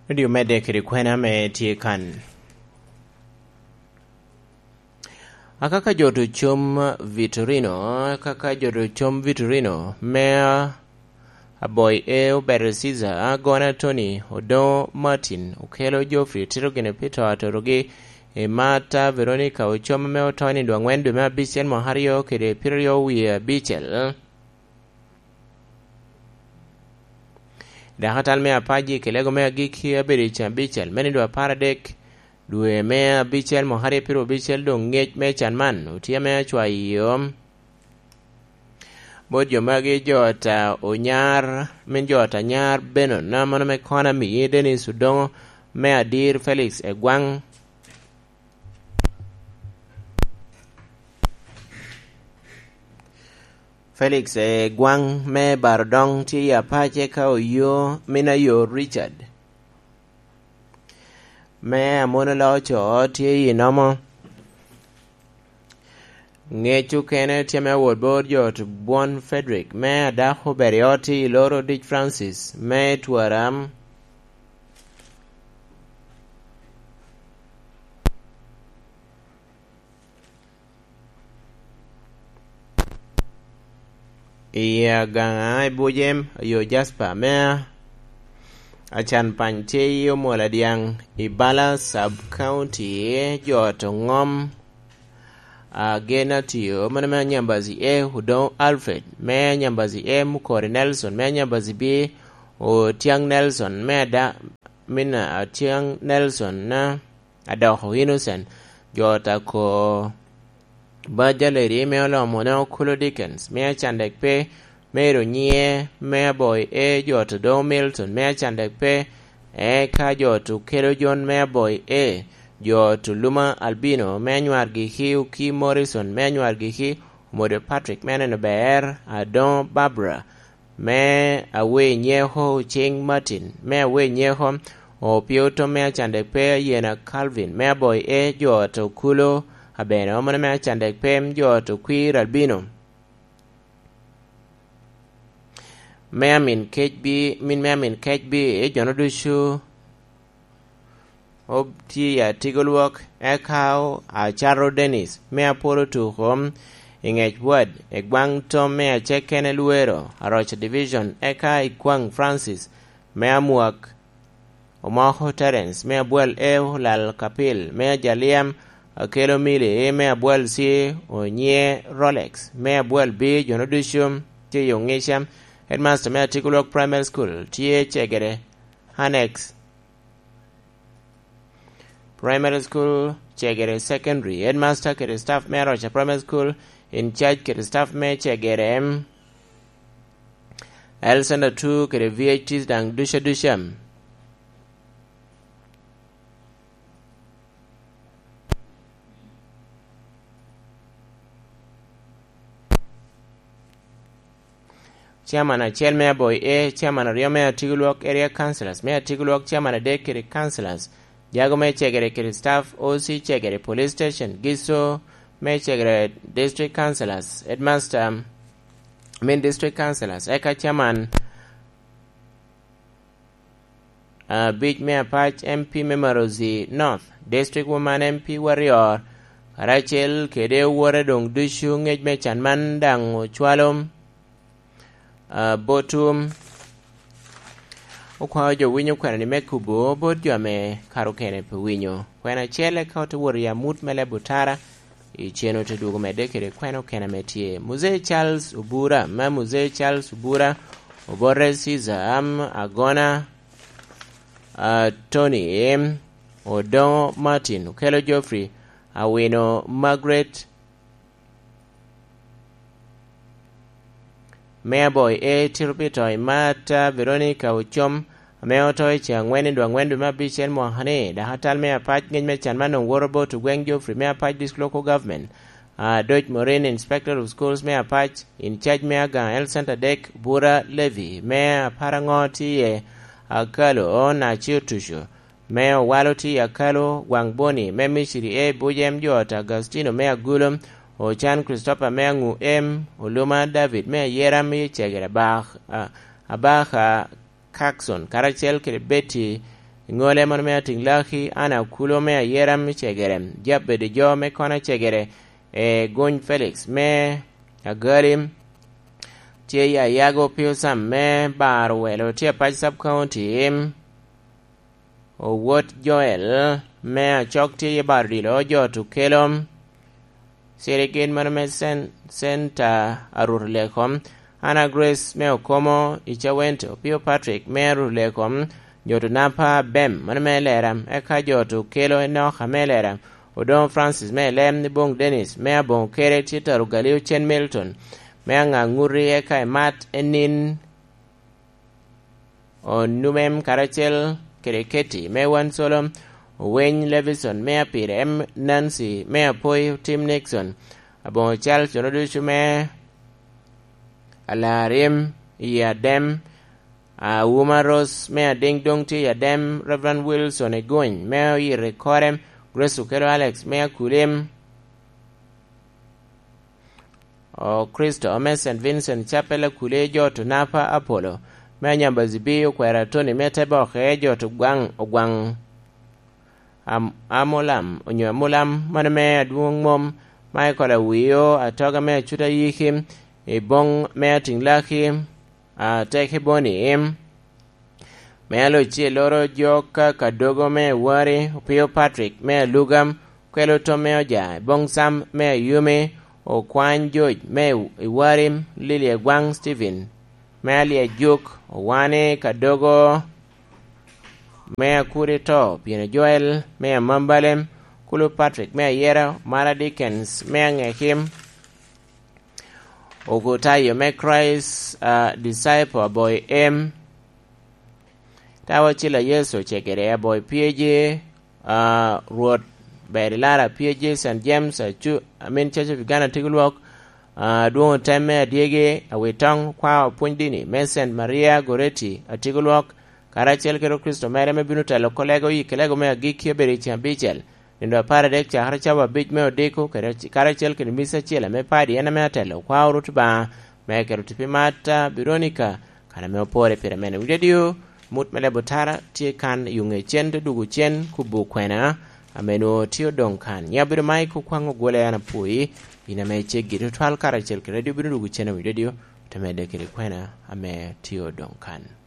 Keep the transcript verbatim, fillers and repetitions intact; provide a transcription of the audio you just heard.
Nwodo omedde kede kwena ame tye kan. Akaka jo ocom Vitorino, akaka jo ocom Vitorino, me Aboy E, Obere Caesar, Agona Tony, Odongo Martin, Okelo Geoffrey, Tito Gine Peter, Atorogi, Emata Veronica, ocom ame oto i nino angwen dwe me abicel mwaka aryo kede pyeraryo wie abicel. Dakatal me apac i kilego me agikki abedo i can abicel me nino apar adek, dwe me abicel mwaka aryo pyeraryo abicel, doŋ ngec me can man otye ame acwayo bot jo magi, jo ata Onyar, min jo ata Nyar Benon, a mano me Kona Miye Dennis Odongo, me Adir Felix Egwaŋ, Felix Egwaŋ me Barodoŋ tye i apac, eka Oyo, min Ayo Richard, me Amono Loco tye i nomo. Ngec okene tye me awot bot jo ot Bwon Frederick, me Adako Beriot tye i Loro Dic Francis, me Twaram. I Agaŋa i Bujem, Ayo Jasper, me Acan Pany tye i Omwola Dyaŋ, i Bala Sub County, jo ot Oŋom, Agena Tio, mano me Anyambazi E, Odoŋo Alfred, me Anyambazi M, Okori Nelson, me Anyambazi B, Otiaŋ Nelson, me Ada-, min Atiaŋ Nelson, na Adoko Innocent, jo ot Ako Baja Lady, me Olomo, na Okulo Dickens, me Acandek pe, me Ero Nyie, me Aboy E, jo ot Odoŋo Milton, me Acandek pe, eka jo ot Okelo Jon, me Aboy E, jo ot Oluma Albino, me Anywar Giki, Oki Morrison, me Anywar Giki, Omodo Patrick, me Aneno Ber, Adoŋo Barbara, me Awe Nyeko, Ocing Martin, me Awe Nyeko, Opio Tom, me Acandek pe, Ayena Calvin, me Aboy E, jo ot Okulo, Abeno, mano me Acandek pe, jo ot Okwir Albino, me Amin Kec Bi, min me Amin Kec Bi, jo-nu ducu otye i Atigo Lwok, eka o-, Acaro Dennis, me Apolo Tuko, i Ŋec Wad, Egwaŋ Tom, me Acekene Lwero, Aroca Division, eka Ikwaŋ Francis, me Amwak, Omoko Terence, me Abwal E, Olal Kapil, me Ajaliam, Akelo Mili, me Abwal C, Onye Rolex, me Abwal B, jo-nu ducu tye i Oŋica, Headmaster me Atigo Lwok Primary School tye Cegere Annex Primary School, Cegere Secondary, Headmaster kede staff me Aroca Primary School, in charge kede staff me Cegere, L Center two kede V H Ts daŋ ducu aduca. Chairman acel me Aboy A, Chairman aryo me Atigo Lwok Area Councilors, me Atigo Lwok Chairman adek kede Councilors, jago me Cegere kede staff, O C Cegere Police Station, Giso me Cegere District Councilors, Headmaster, min District Councilors, eka Chairman abic me Apac, M P me Marozi North, District Woman M P Warrior, karacel kede owote doŋ ducu. Ŋec me can man daŋ ocwalo, ah, botwu. Okwao jo winyo kwena-ni me kubo bot jo ame kare okene pe winyo. Kwena acel eka ote wot i amut me leb otara, i cen ote dwogo medde kede kwena okene ame tye. Muzee Charles Obura, me Muzee Charles Obura, Obote Caesar, am, Agona, ah, Tony, em, Odongo Martin, Okelo Geoffrey, Awino Margaret, me Aboy A, Tito Peter, Imata Veronica Ocom, ame oto i ce aŋwen i dwe aŋwen dwe me abicel mwaka-ni, dok atal me Apac, ŋec me can man doŋ woto bot Ogweng Geoffrey me Apac District Local Government, Adoc Morin, Inspector of Schools me Apac, in charge me Agaŋa Health Center dek, Bura Levy me Aparaŋo tye iye, Akalo Nacio Tuco, me Owalo tye i Akalo, Gwaŋ Boni me Misiri A, Bujem jo ot Agustino me Agulo, Ocan Christopher me Aŋu M, Oluma David me Ayera me Cegere Abak-, a-, Abaka Kakson, karacel kede Betty Ŋole mono me Atiŋ Laki, Ana Kulo me Ayeram i Cegere, Jabed jo me Kona Cegere, e Gony Felix me Agalim, tye i Ayago Pio Sam me Bar Owelo, tye Apac Sub County, Owot Joel me Acok tye i Bar Odilo, Jot Okelo, Sirigin mono me Cen-, Centa Arut Lekom, Ana Grace me Okomo i Cawento, Pio Patrick me Arut Lekom, Jot Onapa Bem mono me Lera, eka Jot Okelo Enoka me Lera, Odoŋo Francis me Elem, Boŋ Dennis me Aboŋo Kere, tye Taro Galio Cen Milton me Aŋaŋuti, eka Emat Enin Onumem karacel kede Keti me Wan Solo, Oweny Levison me Apire, em Nancy me Apoi, Tim Nixon, Aboŋo Charles, jo ducu me Alarim i Adem, Auma Rose me Adiŋ doŋ tye i Adem, Reverend Wilson Egony me Oyito i Kore, Grace Okelo Alex me Akulim, O Kristo me Saint Vincent Chapel Akule, Jot Onapa Apollo me Anyambazibi, Okwera Tony me Teboke, Jot Ogwaŋ, Ogwaŋ Am-, Amulam, onyo Amulam, mano me Adwoŋ Mom, Michael Awio, Atoga me Acuta Yiki, Iboŋ me Atiŋ Laki, Ateke Boni, me Aloc Cielloro, Joka Kadogo me Iwari, Opio Patrick me Aluga, Okelo Tom me Oja, Iboŋ Sam me Ayumi, Okwany George me Iwari, Lily Egwaŋ Stephen me Alyejuk, Owani Kadogo me Akuri To, Pieno Joel me Amambale, Kulu Patrick me Ayera, Mara Dickens me Aŋekim, Okutayo me Christ, ah, Disciple Aboy M, Tawa Cila Yecu Cegere Aboy P A G, ah, Rwot Berilara P A G, Saint James, Acu-, Amin Church of Uganda Tigulwok, ah, Adwoŋ Otem me Adyegi, Awitong, Kwa Opwony Dini me Saint Maria Goretti Atigulwok, karacel kede Kricito mere me bino telo kolego i kelego me agikki abedo i ceng abicel, nino apar adek cakere cawa abic me odiko, kede, karacel kede misa acel ame padi en ame atelo, Kwa Orut Obaŋa, me keto tipi Marta Veronica, kan ame opore pire mene. Wi radio, mut me lebo tara tye kan i ŋe cen, te dugo cen, kubo kwena, ame nwoŋo tye odoŋ kan. Nya bedo Mike Okwaŋ Ogwole, an apwoyi, in ame iceggi tutwal karacel kede radio bino dugo cen i wi radio, te medde kede kwena ame tye odoŋ kan.